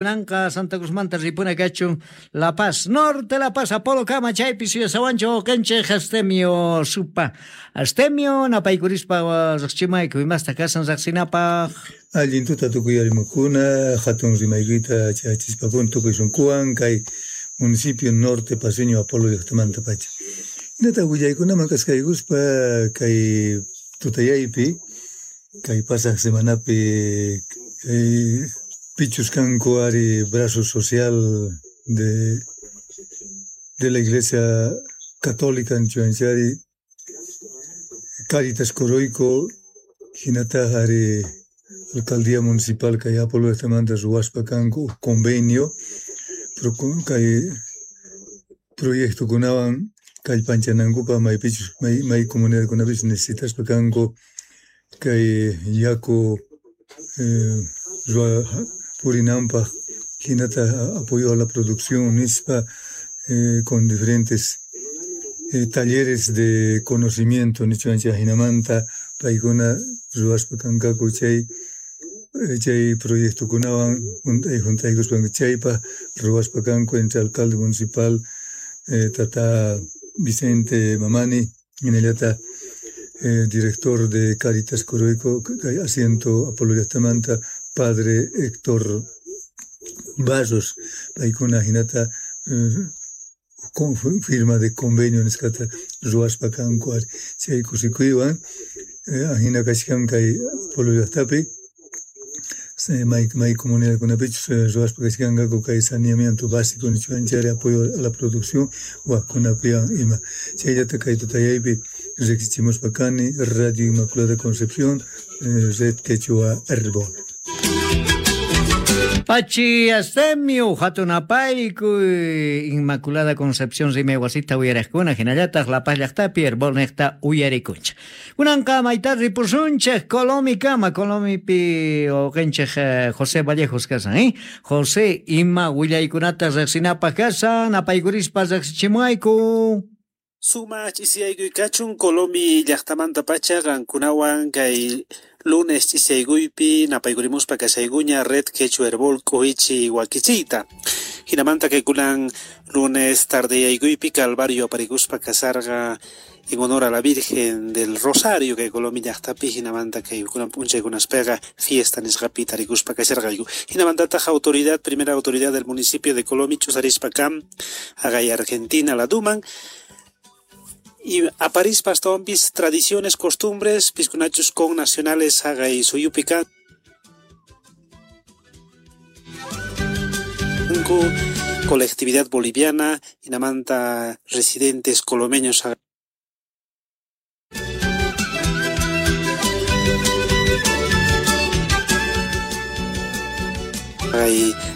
Kunanqa Santa Cruzmanta ripuna kachun La Paz, Norte La Paz, Apolo Kama, chaypi suyasawanchu wawqinchik Astemio Supa. Astemio, napaykurispa riqchimayku imasta kasan riqsinapaq. Allin tuta tukuy arimakuna, hatun rimaykuyta chayachispakuna tukuy sunquwan kay municipio Norte Paceño Apolo llaqtamanta pacha. Hinataq willaykunaman k'askaykuspa kay tutayaypi, kay pasaq semanapi kay pichus kanku ari brazo social de la Iglesia Católica nichuanchari Caritas Coroico hinataq ari Alcaldía Municipal kay Apolo llaqtamanta ruwaspa kanku huk convenio kay proyectokunawan kallpanchanankupaq maypichus may comunidadkunapis necesitaspa kanku kay yaku purinanpaq hinataq apoyo a la producción nispa con diferentes talleres de conocimiento nichuanchik hinamanta paykuna ruwaspa kankaku chay proyectokunawan hunt'aykuspa chaypaq ruwaspa kanku entre alcalde municipal tata Vicente Mamani hinallataq director de Caritas Coroico kay asiento Apolo llaqtamanta padre Héctor Barros paykuna hinata firma de convenio nisqata ruwaspa kanku ari chay kusikuywan hina kachkan kay Apolo llaqtapi may comunidadkunapichus ruwaspa kachkanqaku kay saneamiento básico nichuanchari apoyo a la producción waqkunapiwan ima chayllata kay tutayaypi riqsichimuspa kani Radio Inmaculada Concepción Red Quechua Herbol. Pachi Astemio, hatun apaykuy, Inmaculada Concepción rimay wasita uyariqkuna, hinallataq La Paz llaqtapi Herbol niqta uyarikunchik. Kunanqa mayta ripusunchik Colomikama, Colomipi wawqinchik José Vallejos kasan, ¿eh? José, ima willaykunata riqsinapaq kasan, apaykurispa riqsichimuayku. Sumach ch'isiyaykuy kachun Colomi llaqtamanta pacha qankunawan kay lunes ch'isiyaykuypi napaykurimuspa kashaykuña Red Quechua Herbol k'uhichi wakichiyta. Hinamanta kay kunan lunes tardeyaykuypi Calvario aparikuspa kasarqa en honor a la Virgen del Rosario kay Colomi llaqtapi hinamanta kay kunan p'unchaykunaspiqa fiesta nisqapi tarikuspa kasharqayku. Hinamantataq autoridad, primera autoridad del municipio de Colomi ch'usarispa kam haqay Argentina laduman y aparispa astawanpis tradiciones, costumbres, piskunachus con nacionales haqay suyupi kanku colectividad boliviana, hinamanta residentes colomeños haqay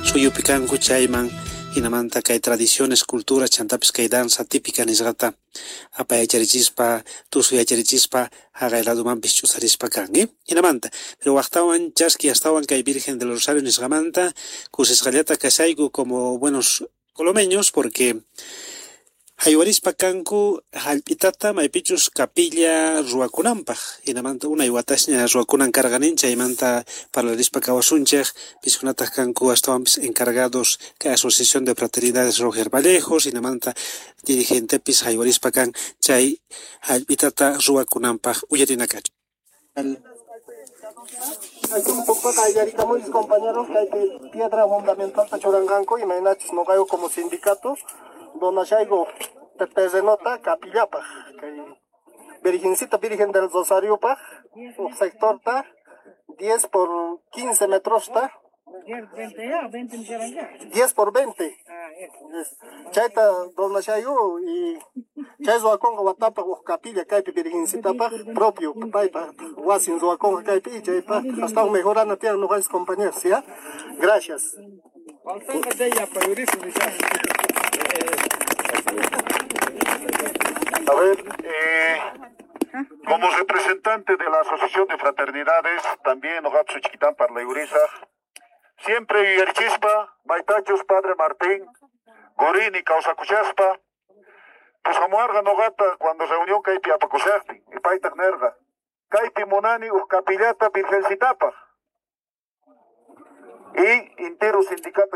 suyupi kanku chayman hinamanta kay tradiciones, culturas, chantapis kay danza típica nisqata apayacharichispa, tusuyacharichispa haqay ladumanpis ch'usarispa kan, hinamanta. Pero waqtawan chaski astawan kay Virgen del Rosario nisqamanta kusisqallata kashayku como buenos colomeños porque haywarispa kanku hallp'itata maypichus capilla ruwakunanpaq hinamanta unay watasña ruwakunan karqanin chaymanta parlarispa kawasunchik piskunataq kanku astawanpis encargados kay Asociación de Fraternidades Roger Vallejos hinamanta dirigentepis haywarispa kan chay hallp'itata ruwakunanpaq uyarinakachu. Un poco mis compañeros que hay piedra fundamental tachuranqanku imaynachus noqayku como sindicato donashayku terrenota capillapaq kay Virgencita Virgen del Rosario paq sectorta 10 por 15 metros ta 10 por 20 chayta donashayku y chay ruwakunqa watapaq huk capilla kaypi Virgencitapaq propio paypa wasin ruwakunqa kaypi chaypaq astawan mejorana tiyan noqanchis compañeros, ¿ya? Gracias. A ver, como representante de la Asociación de Fraternidades, también Ogatsu Chiquitán Parlayurisa, siempre yuyarichispa, Maitachus, Padre Martín, Gorini, Causacuchaspa, pues amuarga nogata cuando reunión kaypi apakushaqtin, y paytaq nerqa, kaypi munani uj capillata virgencitapaq. Y entero sindicato.